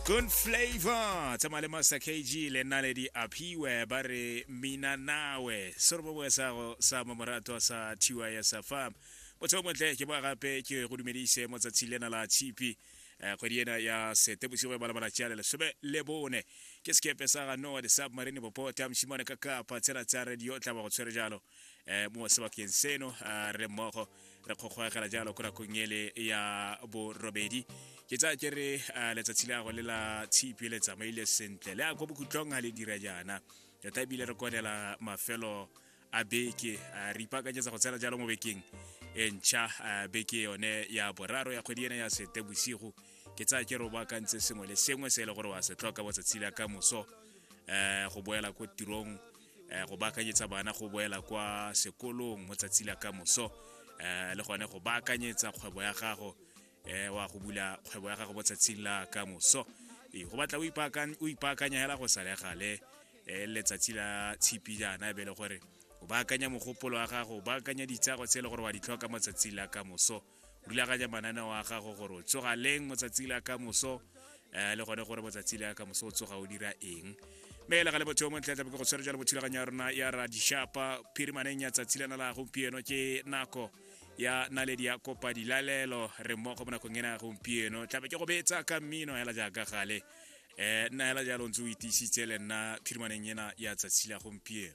Good flavor tsamaya le Master KG le Naledi Aphiwe ba re mina nawe serobongwe sa go sa mamoratwa sa TYS Farm motho o montle ke boa gape ke go dumedise mo tsatsing lena la tshipi eh, kgwedi ena ya Seetebosigo e bala malatsi a le 14. Ke sekepe sa ga Noah the submarine popota moshimane ka kapa tsela tsa radio tla ba go tshwere jalo eh, mo sebakeng seno eh, re le mmogo re kgokgoegela jalo ko nakong ele ya borobedi. Ke tsaya ke re eh, letsatsi la go le la tshipi le tsamaile sentle le ya ko bokhutlong ga le dira jaana tota ebile re konela mafelo a beke eh, re ipaakanyetsa go tsena jalo mo bekeng e ntšha eh, beke yone ya boraro ya kgwedi ena ya sete bosigo. Ke tsaya ke re o baakantse sengwe le sengwe se e le gore wa se tlhoka botsatsi la ka moso um go boela ko tirong eh, go baakanyetsa bana go boela kwa sekolong mo tsatsi la ka moso eh, le gone go baakanyetsa kgwebo ya gago eh, wa go bula kgwebo ya gago mo tsatsing la ka moso. Ee, go batla o ipaakanya hela go sa le gale eh, letsatsi la tshipi jaana e be le gore o baakanya mogopolo wa gago, o baakanya ditsago tse e le gore wa di tlhoka mo tsatsing la ka moso, rulaganya mananeo a gago gore o tsoga leng mo tsatsi la ka moso um le gone gore motsatsi la ka moso o tsoga o dira eng. Mme le ga le motho yo montle tlabe ke go tshwere jalo mo thulaganyo ya rona ya Radishapa phirimaneng ya tsatsi lena la gompieno. Ke nako ya Naledi ya Kopa Dilalelo, re mmogo mo nakong ena ya gompieno. Tlabe ke go betsa ka mmino hela jaaka gale um nna hela jalo ntse o itiisitse le nna phirimaneng ena ya tsatsi la gompieno.